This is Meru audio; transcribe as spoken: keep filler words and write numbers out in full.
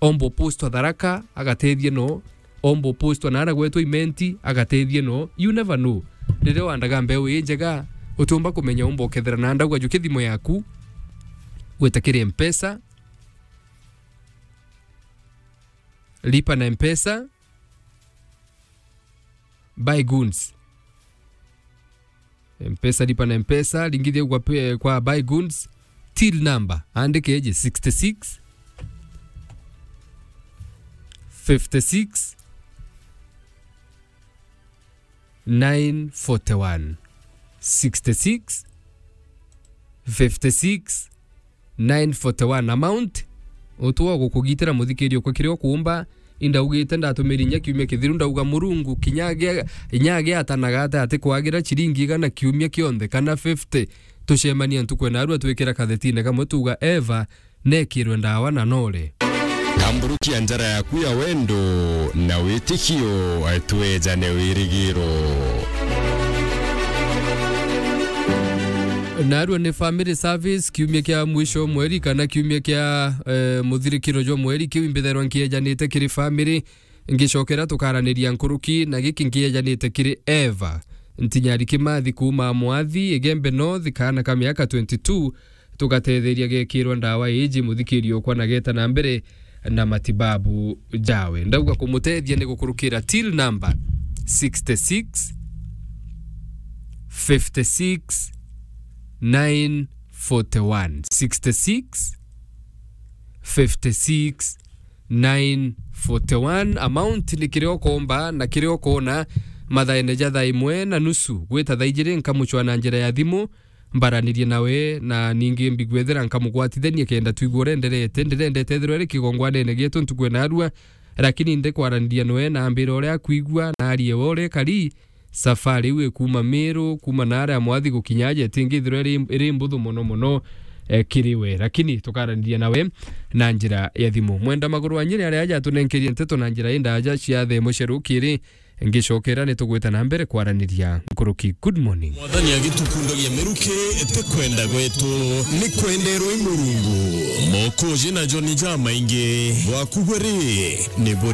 omba upostwa Tharaka, agatethie no, omba upostwa naara gwetwa Imenti, agatethie no. You never know. Riria wandaga mbeu ii njega, utiumba kumenya umba ukethira na ndauga jukia thimu yaku, gwita kiri Mpesa, lipa na Mpesa, buy goods. Mpesa, lipa na Mpesa, ringithia kwa pe-, kwa buy goods, till number, andike eje sixty-six, fifty-six, nine forty-one. Sixty-six, fifty-six, nine forty-one. Amount, utwa gukugitira muthikiri okwa kiria ukuumba. Indaugite ndatumiri inya kiumia kithiru, ndauga Murungu, kinya agia-, inya agiatanaga ata ati kwagira ciringi igana kiumia kionthe, kana fifty, tucemania ntuku ena arua twikira kathetine kamwe tuuga Eva, nekirwe ndawa na nore. Tamburukia njara yaku ya wendo na witikio, twejane wirigiro. Narua ni family service, kiumia kia mwisho mweri kana kiumia kia, eh, muthirikiro jwa mweri, kiu imbithairwa nkiejanite kiri family, ngicokera tukaraniria nkuruki, na giki nkiejanite kiri Eva Ntinyari Kimathi kuuma Mwathi, Igembe North, kaana ka miaka twenty-two, tugatetheria gekirwa ndawa iji muthikiri okwa na geta na mbere na matibabu jawe. Ndauga kumutethia ni gukurukira till number sixty-six, fifty-six, nine forty-one. Sixty-six, fifty-six, nine forty-one. Amount ni kiria ukomba na kiria ukona mathaene ja thaa imwe na nusu gwita thaa ijiri, nkamucwa na njira ya thimu, mbaranirie nawe, na ningi mbigwethera nkamugwatithania kenda twigua uria enderete. Ndirendete ethirwa iri kigongwanene gietu ntuku ena arua, lakini ndikwaraniria nawe na ambira uria akwigua na arie we uria ekari. Safari iu ikuuma Meru, kuuma naaria Mwathi gukinya aja, itingithirwa iri, iri mbuthu mono mono, eh, kiri we. Lakini tukaraniria nawe na njira ya thimu. Mwenda Maguru wa Nyeri aria aja atunenkerie nteto na njira indaaja cia thaa imwe cia rukiri. Ngicokera ni tugwita na mbere kwaraniria nkuruki. Good morning. Mwathani agitukundagia miruki, ti kwenda gwetu, ni kwenderwa i Murungu. Mokoji na joni jamaingi, bwaku bwe ri, ni buri